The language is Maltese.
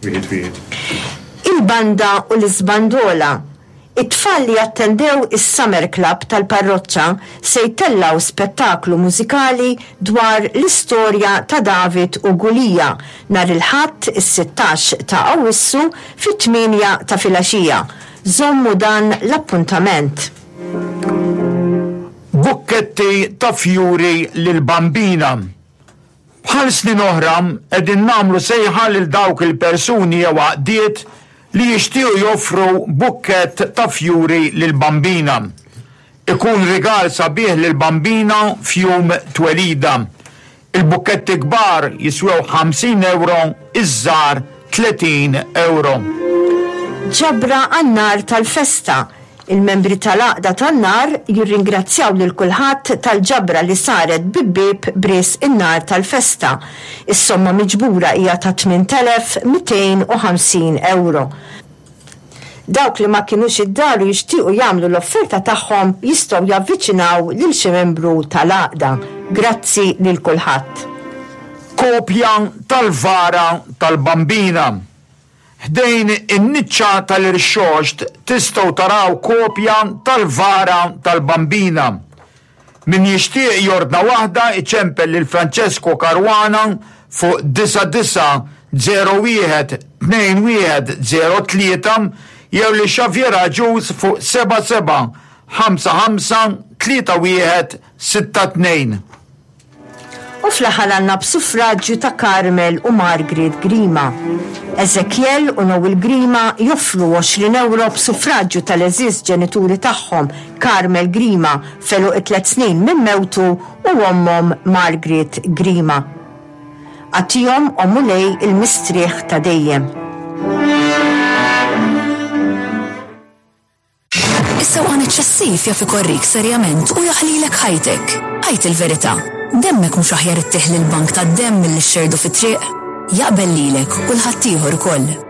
Wieħed wieħed. Il-banda u l-iżbandola. It-tfal li attendew is-Summer Club tal-parroċċa se jtellgħu spettaklu mużikali dwar l-istorja ta' David u Gulija nhar il-Ħadd is-sittax ta' Awwissu fit-tmienja ta' filgħaxija. Żommu dan l-appuntament. Bukketti ta' fjuri lill-Bambina. Bħal snin oħra, qegħdin nagħmlu sejħa lil dawk il-persuni jew għaqdiet li jixtiequ joffru bukkett ta' fjuri lill-Bambina. Ikun rigal sabiħ lill-Bambina f'jum twelidha. Il-bukketti kbar jiswew 50 ewro, iż-żgħar 30 ewro. Ġabra għan-nar tal-festa Il-membri tal-Għaqda tan-Nar jirringrazzjaw lil kulħadd tal-ġabra li saret bi bieb b'risq in-nar tal-festa. Is-somma miġbura hija ta' 8,250 ewro. Dawk li ma kinux id-dar u jixtiequ jagħmlu l-offerta tagħhom jistgħu javviċinaw lil xi membru tal-Għaqda. Grazzi lil kulħadd. Kopja tal-vara tal-Bambina. Ħdejn in-niċċa tal-Irxoxt tistgħu taraw kopja tal-vara tal-Bambina. Min jixtieq jordna waħda iċempel lil Francesco Caruana fuq 9901 2103 jew lil Xavier Agius fuq 77 55 31 62. U fl-aħħar għandna b'suffraġġju ta' Carmel u Margaret Grima. Ezekiel u Noel Grima joffru 20 ewro b'suffraġġju tal-għeżież ġenituri tagħhom Carmel Grima f'għeluq it-tliet snin minn mewtu u ommhom Margaret Grima. Agħtihom, O Mulej, il-mistrieħ ta' dejjem. Is-sewqan eċċessiv jaf ikorrik serjament u jaħlilek ħajtek. Għid il-verità, demmek mhux aħjar ittih lill-bank tad-demm milli xxerrdu fit-triq? Jaqbel lilek u 'l ħaddieħor ukoll.